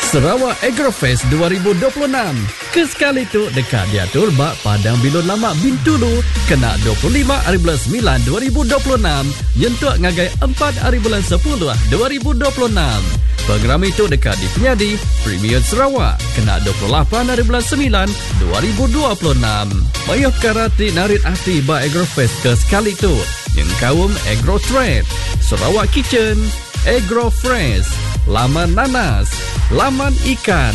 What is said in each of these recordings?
Sarawak Agrofest 2026 ke sekali tu deka diatur ba Padang Bilun Lama Bintulu kena 25 hari bulan 9 2026 nyentuk ngagai 4 hari bulan 10 2026. Pengerami tu deka dipenyadi Premier Sarawak kena 28 hari bulan 9 2026. Mayuh pekara ti narit ati ba Agrofest ke sekali tu nyengkaum AgroTrade, Sarawak Kitchen, AgroFresh, laman nanas, laman ikan,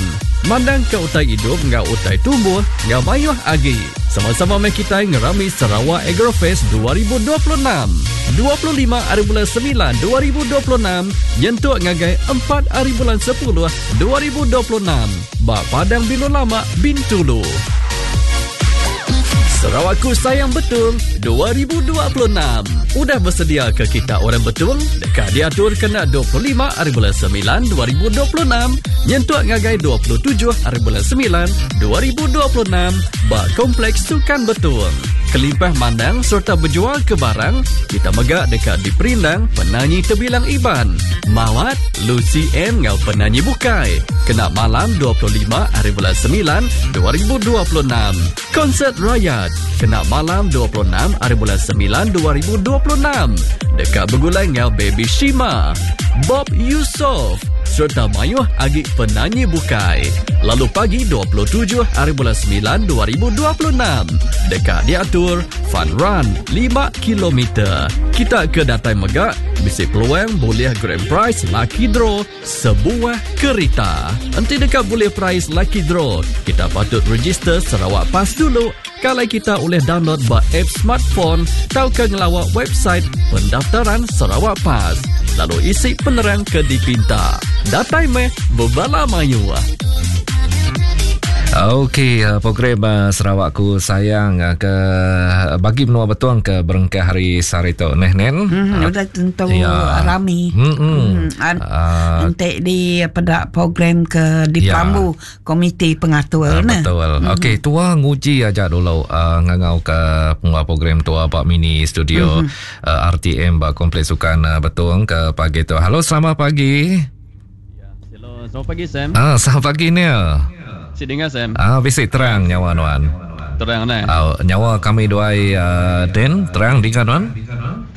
mandangka utai idup enggau utai tumbuh enggau mayuh agi. Sama-sama meh kitai ngerami Sarawak Agrofest 2026, 25 ari bulan semilan 2026 nyentuk ngagai empat ari bulan sepuluh 2026 ba Padang Bilun Lama, Bintulu. Sarawakku Sayang Betung 2026 udah besedia ke kita orang Betung deka diatur kena 25 hari bulan 9 2026 nyentuk ngagai 27 hari bulan 9 2026 ba Kompleks Sukan Betung. Kelimpah mandang sereta bejual ke barang, kita mega deka diperindang penanyi tebilang Iban, Mawat, Lucy Ann enggau penanyi bukai kena malam 25 hari bulan 9 2026. Konsert Rayat kena malam 26 hari bulan 9 2026 deka begulai enggau Baby Shima, Bob Yusof sereta mayuh agi penanyi bukai. Lalu pagi 27 hari bulan 9 2026 deka diatur Fun Run 5 kilometer. Kita ke datai mega bisi peluang bulih grand prize lucky draw sebuah kerita. Enti deka bulih prize lucky draw, kita patut register Sarawak Pass dulu kalai kita ulih download ba app smartphone tauka ngelawa website pendaftaran Sarawak Pass lalu isi penerang ke dipinta. Datai meh bebala mayuh. Okey, eh, program eh, Sarawakku Sayang eh, ke bagi menua Betong ke berengkah hari sehari tu neh nen. Hmm, udah tentu ya. rami. Hmm. Uh, Enti di peda program ke di ya. Perambu komiti pengatur uh, Betul. Hmm. Okey, tua nguji aja dulu uh, ngangau ke pengeluar program tua ba mini studio hmm. uh, RTM ba Kompleks Sukan uh, Betong ke pagi tu. Halo, selamat pagi. Ya, hello. Selamat pagi Sam. Ah, selamat pagi ni. Si dengar Sam. Ah, bisi terang nyawa nuan. Terang ne. Ah, nyawa kami duai uh, Den terang dinga nuan.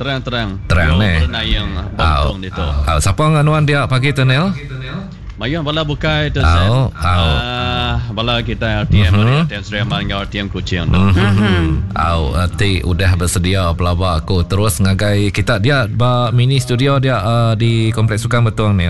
Terang terang. Terang ne. Yang bentong ditu. Ah, siapa dengan nuan dia pagi tu Nel? Mayuh bala bukai tu Sam. Ah, bala kita RTM uh-huh. RTM Sri Aman enggau RTM Kuching tu. Uh-huh. Au, ti udah bersedia pelaba aku terus ngagai kita dia ba mini studio dia uh, di Kompleks Sukan Betong ni.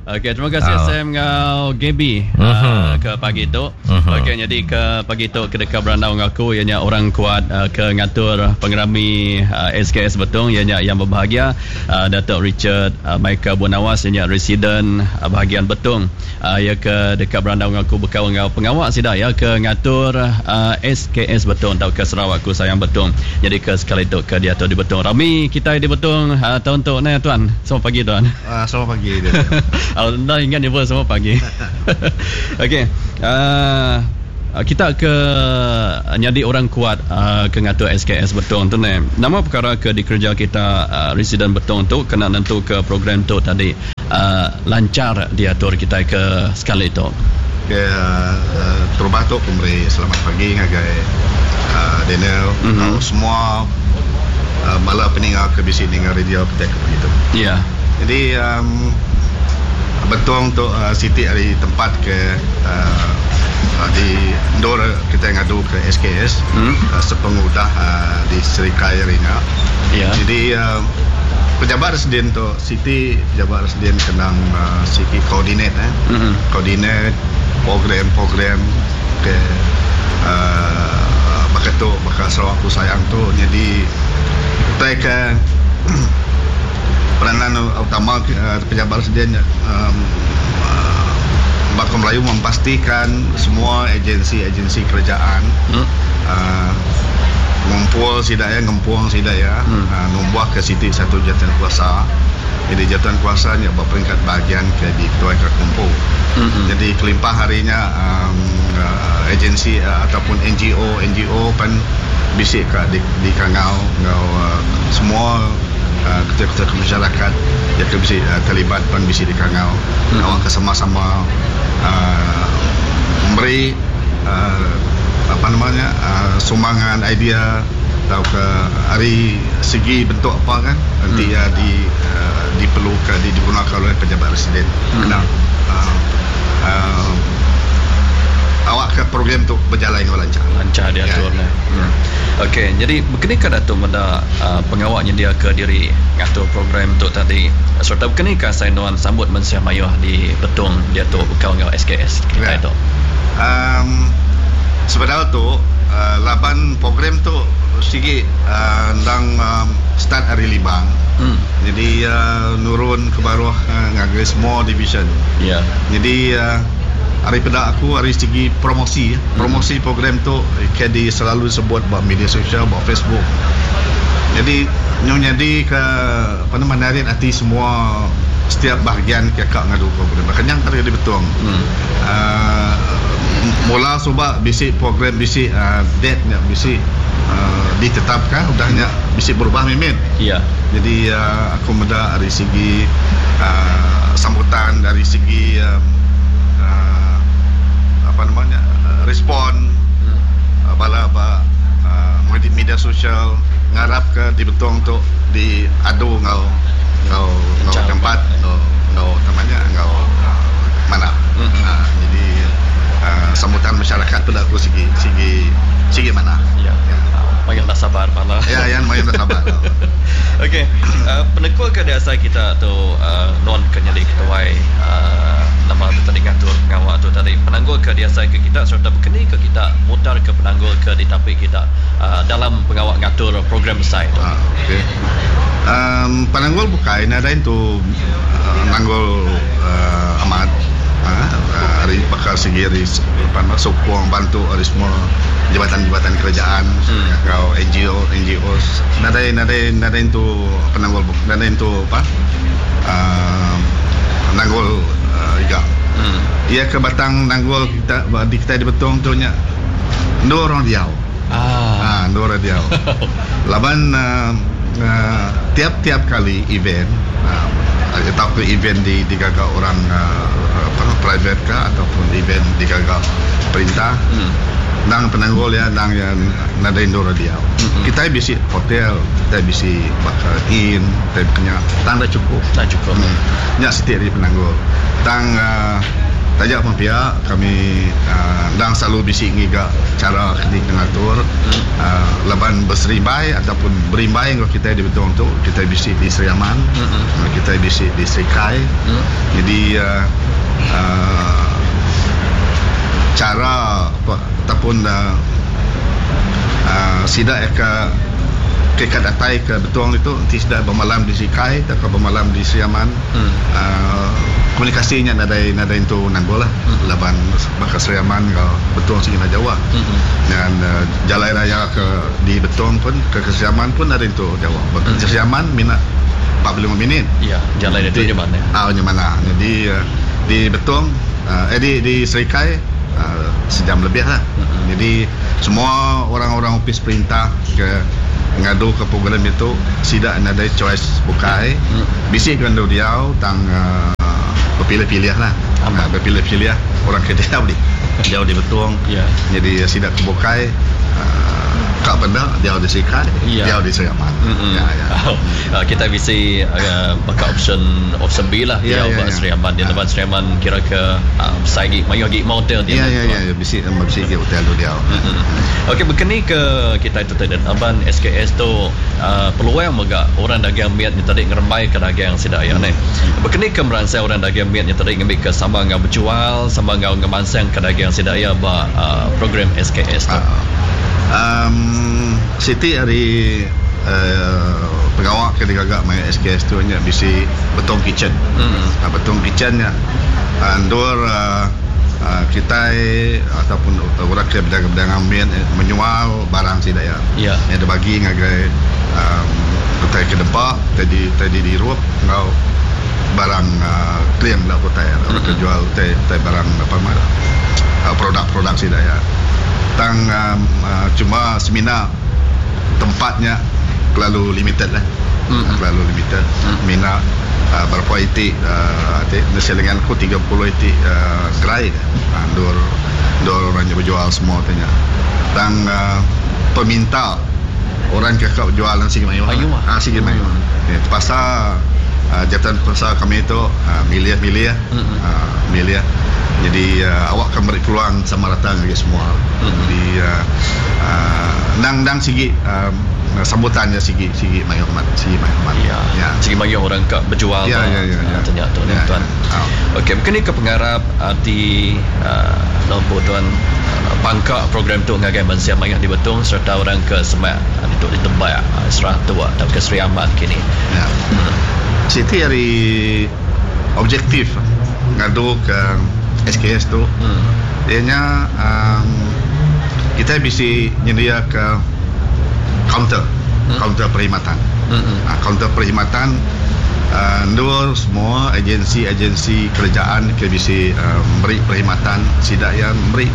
Okey, terima kasih oh. Sam enggau Gaby uh-huh. uh, ke pagi tu. Uh-huh. Okey, jadi ke pagi tu ke deka berandau enggau aku iya nya orang kuat uh, ke ngatur pengerami uh, SKS Betong iya nya yang berbahagia uh, Datuk Richard uh, Michael Bunawas iya nya residen uh, bahagian Betong. Uh, iya ke deka berandau enggau aku bekaul enggau pengawa sida iya ke ngatur uh, SKS Betong tauka Sarawakku Sayang Betong. Nyadi ke sekali tu ke diatu di Betong. Rami kitai di Betong uh, taun tu neh tuan. Selamat pagi tuan. Uh, selamat pagi. Oh, enda ingat nyebut selamat pagi. Okey. Uh, kita ke nyadi orang kuat uh, ke ngatur SKS Betong tu neh. Nama perkara ke dikereja kita uh, residen Betong tu kena nentu ke program tu tadi uh, lancar diatur kita ke sekali tu. Okey, uh, uh, terubah tu aku meri selamat pagi ngagai uh, Daniel mm-hmm. semua uh, bala peninga ke bisi ninga radio kitai ke pagi tu. Ya. Yeah. Jadi um, Betong tu uh, siti ari tempat ke uh, di endur kitai ngadu ke SKS mm. uh, sepengudah uh, di Serikai ari nya. Yeah. Jadi uh, pejabat residen tu siti pejabat residen kenang uh, siti koordinat eh. Mm-hmm. Koordinat program-program ke uh, baka tu baka Sarawakku Sayang tu jadi utai ke peranan utama uh, pejabat residen um, uh, baka Melayu memastikan semua agensi-agensi kerajaan hmm. uh, ngumpul sida ya ngempung sida ya hmm. uh, numbuh ke siti satu jawatan kuasa jadi jawatan kuasa nya ba peringkat bahagian ke di ketuai ke kumpu hmm. jadi kelimpah harinya um, uh, agensi uh, ataupun NGO NGO pan bisi ka di, di kangau enggau uh, semua ketuai-ketuai masyarakat iya ke bisi terlibat pan bisi dikangau awakka sama-sama meri apa nama nya sumbangan idea tauka ari segi bentuk apa kan enti iya di diperluka digunaka oleh pejabat residen kena awakka program tu bejalai enggau lanchar. Lanchar diatur neh. Okey nyadi bekeni ka datu meda pengawa nyendiaka diri ngatur program tu tadi sereta bekeni ka asai nuan sambut mensia mayuh di Betong diatu bekau enggau SKS kitai tu. Emm sebedau tu laban program tu sigi endang start ari Libang nyadi iya nurun ke baruh ngagai semua division. Nyadi ari peda aku ari segi promosi promosi program tu ke di selalu disebut ba media sosial ba Facebook. Nyadi nyau nyadi ke apa nama narit ati semua setiap bahagian ke ka ngadu program. Baka nya ka di Betong uhh mula suba bisi program bisi date nya bisi uhh ditetapka udah nya bisi berubah mimit. Jadi aku meda ari segi uhh sambutan ari segi uhh apa nama nya respon bala ba media sosial ngarapka di Betong tu diadu enggau enggau enggau tempat enggau enggau nama nya enggau manah. Jadi sambutan masyarakat tu aku sigi sigi sigi manah. Ya. Mayuh enda sabar bala. Ya ya mayuh enda sabar. Okey penekul ke diasai kita tu non ke nyadi ketuai nama tu tadi ngatur pengawa tu tadi penanggul ke diasai ke kita sereta bekeni ke kita mutar ke penanggul ke ditapi kita dalam pengawa ngatur program besai tu. Okey. Penanggul bukai nadai entu nanggul amat ari baka sigi ari sukung bantu ari semua jabatan-jabatan kerajaan enggau NGO NGOs nadai nadai nadai entu penanggul nadai entu apa nanggul iga. Iya ke batang nanggul kita di kitai di Betong tu nya endur orang diau. Haa endur orang diau. Laban tiap-tiap kali event tauka event digaga orang private ka ataupun event digaga perintah endang penanggul iya endang iya nadai endur diau. Kitai bisi hotel, kitai bisi baka inn, kitai baka nya tang enda chukup. Nya siti ari penanggul. Tang taja pun pia kami endang selalu bisi ngiga chara keni ke ngatur. Laban beserimbai ataupun berimbai enggau kitai di Betong tu, kitai bisi di Sri Aman, kitai bisi di Serikai. Jadi uhh chara ataupun uhh sida ke ke datai ke Betong ditu enti sida bemalam di Serikai tauka bemalam di Sri Aman uhh komunikasi nya nadai nadai entu nanggul lah laban baka Sri Aman enggau Betong sigi enda jauh. Ngan jalai raya ke di Betong pun ke ke Sri Aman pun ari entu jauh. Baka ke Sri Aman mina 45 minit. Ya, jalai ditu nya manah. Ah nya manah. Jadi di Betong eh di di Serikai sejam lebih lah. Jadi semua orang-orang opis perintah ke ngadu ke program ditu sida nadai choice bukai. Bisi ke endur diau tang bepilih-pilih lah. Bepilih-pilih orang ke diau di diau di Betong. Nyadi sida ke bukai ka benda diau di Serikai, diau di Sri Aman. Ya ya. Kitai bisi baka option option B lah diau ba Sri Aman. Dia laban Sri Aman kira ke besai agi mayuh agi mah hotel dia. Ya ya ya bisi bisi agi hotel tu diau. Okey bekeni ke kitai tu tadi laban SKS tu peluang mega orang dagang mit nya tadi ngerembai ke dagang sida iya neh. Bekeni ke meransang orang dagang mit nya tadi ngambika sama enggau bejual sama enggau ngemansangka dagang sida iya ba program SKS tu. Um siti ari pengawa ke digaga maya SKS tu nya bisi Betong Kitchen. Betong Kitchen nya endur kitai ataupun orang ke bedagang-bedagang mit menyual barang sida iya. Nya dibagi ngagai utai ke dempa, utai di dirup enggau barang clean enda utai orang ke jual utai utai barang apa nama produk-produk sida iya. Tang cuma semina tempat nya kelalu limited lah. Mm-hmm. Terlalu limited. Mm. Mina berapa iti ati nasi lengan aku 30 iti gerai endur endur orang nya bejual semua ti nya. Tang peminta orang ke ka bejual nang sigi mayuh. Mayuh. Ah sigi mayuh. Mm. Terpaksa jatan kuasa kami tu milih-milih mm-hmm. milih jadi awak ka meri peluang sama rata ngagai semua. Mm-hmm. Jadi endang endang sigi sambutan nya sigi sigi mayuh amat sigi mayuh amat. Ya. Ya. Sigi mayuh orang ka bejual ya, ya, ya, ya. Tanya tu ya, tuan. Ya. Okey, mungkin ni ke pengarap ati uh, tuan pangka program tu ngagai mensia mayuh di Betong serta orang ke semak ditu di Tebak Seratok tauka Sri Aman kini. Ya. Siti ari objektif ngadu ke SKS tu iya nya um kitai bisi nyendiaka kaunter, kaunter perkhidmatan. Kaunter perkhidmatan endur semua agensi-agensi kerajaan ke bisi meri perkhidmatan sida iya meri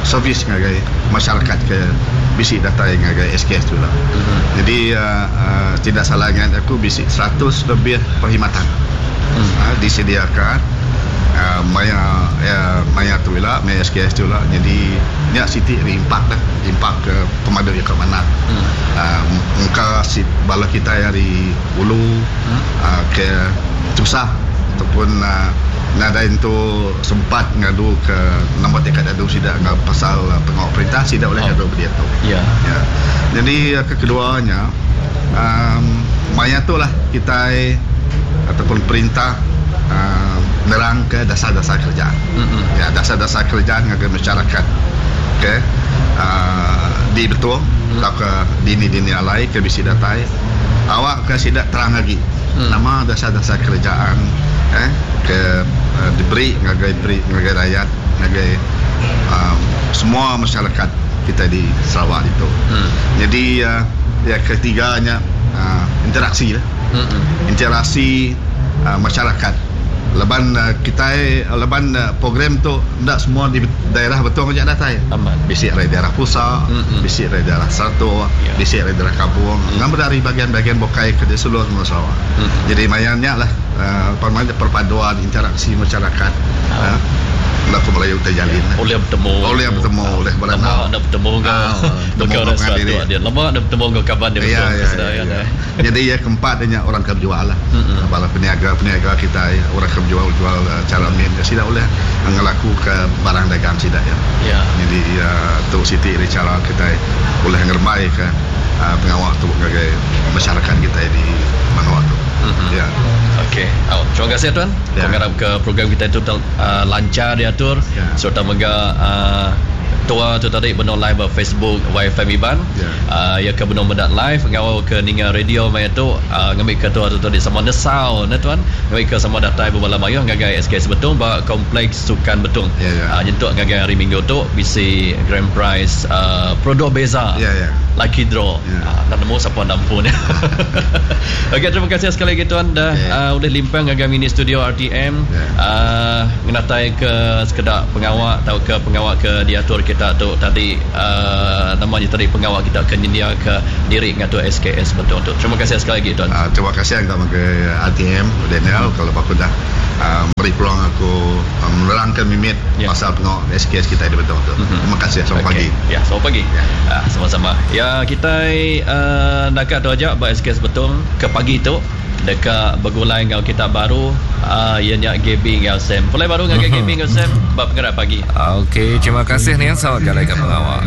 servis ngagai masyarakat ke bisi datai ngagai SKS tu ila. Jadi tidak salah ingat aku bisi 100 lebih perkhidmatan disediaka maya maya tu ila maya SKS tu ila jadi nya siti ari impak dah impak ke pemadu iya ke manah engka bala kitai ari ulu ke tusah ataupun nadai entu sempat ngadu ke nama ti ka diadu sida enggau pasal pengawa perintah sida ulih ngadu ba diatu. Ya. Jadi ke kedua nya uhh maya tu lah kitai ataupun perintah uhh nerang ke dasar-dasar kerajaan. Ya dasar-dasar kerajaan ngagai masyarakat ke uhh di Betong tauka dini-dini alai ke bisi datai awak ka sida terang agi nama dasar-dasar kerajaan eh ke diberi ngagai beri ngagai rayat ngagai uhh semua masyarakat kitai di Sarawak ditu. Jadi yang ketiga nya uhh interaksi lah. Interaksi uhh masyarakat laban kitai laban program tu enda semua di daerah Betong aja datai. Bisi ari daerah Pusa, bisi ari daerah Saratok, bisi ari daerah Kabong enggau meda ari bagian-bagian bukai ke di seluruh menua Sarawak. Jadi maya nya lah perpaduan interaksi masyarakat enda ku Melayu terjalin. Ulih betemu. Ulih betemu, ulih berandau. Lama enda betemu enggau baka orang Saratok dia. Lama enda betemu enggau kaban dia Betong ke Sedayan. Jadi iya keempat nya orang ke bejual lah. Bala peniaga-peniaga kitai orang ke bejual-jual chara min sida ulih ngelakuka barang dagang sida iya. Jadi tu siti ari chara kitai ulih ngerembaika pengawa tu ngagai masyarakat kitai di menua tu. Ya. Okey. Terima kasih tuan. Aku ngarapka program kitai tu lanchar diatur sereta mega tua tu tadi benung live ba Facebook YFM Iban. Iya ke benung meda live enggau ke ninga radio maya tu ngambika tua tu tadi sama nesau ne tuan ngambika sama datai bebala mayuh ngagai SKS Betong ba Kompleks Sukan Betong nyentuk ngagai hari minggu tu bisi grand prize Produk Beza Lucky Draw enda nemu sapa enda empu nya. Okey terima kasih sekali lagi tuan dah ulih limpang ngagai mini studio RTM ngenatai ke sekeda pengawa tauka pengawa ke diatur kita tu tadi. Nama nya tadi pengawa kita ke nyendiaka diri ngatur SKS Betong tu. Terima kasih sekali lagi tuan. Terima kasih enggau ngagai RTM Daniel kalau ba aku dah meri peluang aku menerangka mimit pasal pengawa SKS kitai di Betong tu. Terima kasih. Selamat pagi. Ya, selamat pagi. Sama-sama. Ya kitai naka tu aja ba SKS Betong ke pagi tu. Deka begulai enggau kita baru iya nya Gaby enggau Sam. Pulai baru ngagai Gaby enggau Sam ba pengerai pagi. Okey, terima kasih Nian selamat jalai ke pengawa.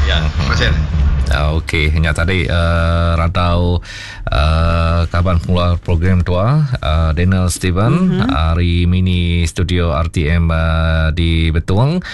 Ya, terima kasih. Okey, nya tadi randau kaban pengeluar program tua Daniel Steven ari mini studio RTM di Betong.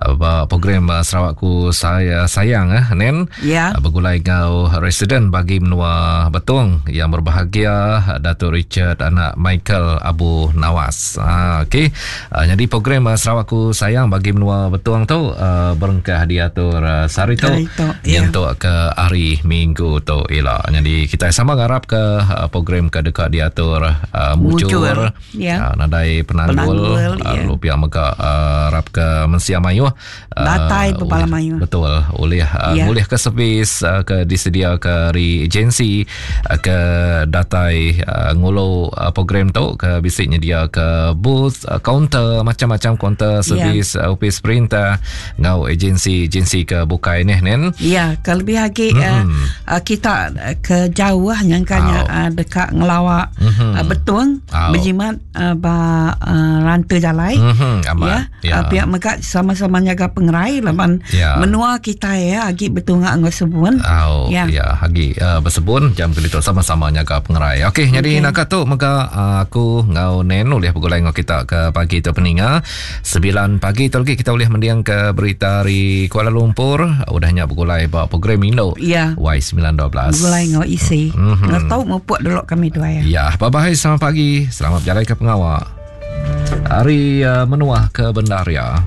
Ba program Sarawakku saya sayang eh Nen. Ya. Begulai enggau residen bagi menua Betong yang berbahagia Datuk Richard anak Michael Abu Nawas. Ha okey. Nyadi program Sarawakku sayang bagi menua Betong tu berengkah diatur sehari tu ya. nyentuk ke hari Minggu tu ila. Nyadi kitai sama. ngarap ke uh, program ke deka diatur uh, mujur, mujur. Ya. Uh, nadai penanggul, penanggul uh, ya. pihak mega uh, harap ke mensia mayuh uh, datai bebala mayuh. Betul, ulih uh, ya. ngulih ke servis uh, ke disedia ke ari agensi uh, ke datai uh, ngulu uh, program tu ke bisi nyedia ke booth, uh, counter macam-macam counter ya. servis yeah. uh, ofis perintah enggau agensi-agensi ke bukai nih nen. Ya, ke lebih agi mm-hmm. uh, kita ke jauh nyangkanya uh, deka ngelawa mm-hmm. uh, betung oh. berjimat uh, ba uh, rantai jalai. Mm-hmm. Amat. Ya, ya. Uh, pihak mega sama-sama nyaga pengerai laban ya. menua kita ya agi betunga enggau sebun. Oh, ya, ya agi uh, bersebun jam ke ditu sama-sama nyaga pengerai. Okey, okay. jadi naka tu mega uh, aku enggau Nen ulih begulai enggau kita ke pagi tu peninga. 9 pagi tu lagi kita ulih mending ke berita ari Kuala Lumpur udah nya begulai ba program Indo ya. Y912. Begulai enggau isi. Mm-hmm. Ngertau mupuk dulu kami dua ya. Ya, bye bye selamat pagi. Selamat berjalai ke pengawa. Hari uh, menuah ke bendar ya.